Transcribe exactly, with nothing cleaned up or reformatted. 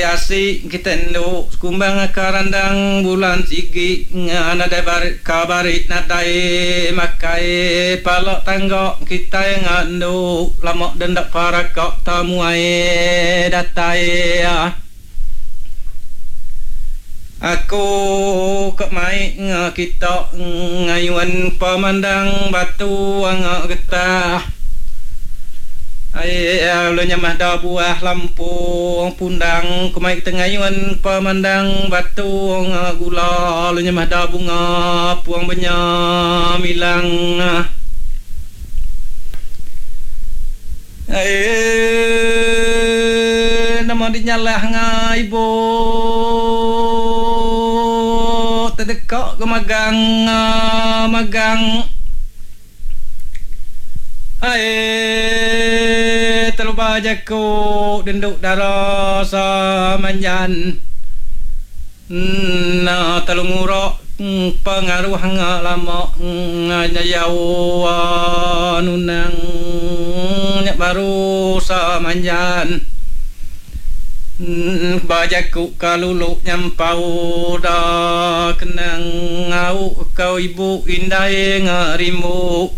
Asi kita endu sekumbang ka randang bulan sigi nadai bari ka bari nadai makai pala tangga kitai endu lama denda paraka tamuai datai. Aku ke mai kita ngayuan pemandang batu getah. Ai lalu nyamah da buah lampung pundang kumai kita ngayuan pemandang batu gula lalu nyamah da bunga puang benyam ilang. Ai nama dinyalah ngai ibu tedekak ke magang magang. Ai terlupa jaku denduk darah samanjan. Na telungurok pengaruh lama nyayau nunang nyak baru samanjan. Bajaku kalulu nyampau da kenang ngau kau ibu indai ngarimu.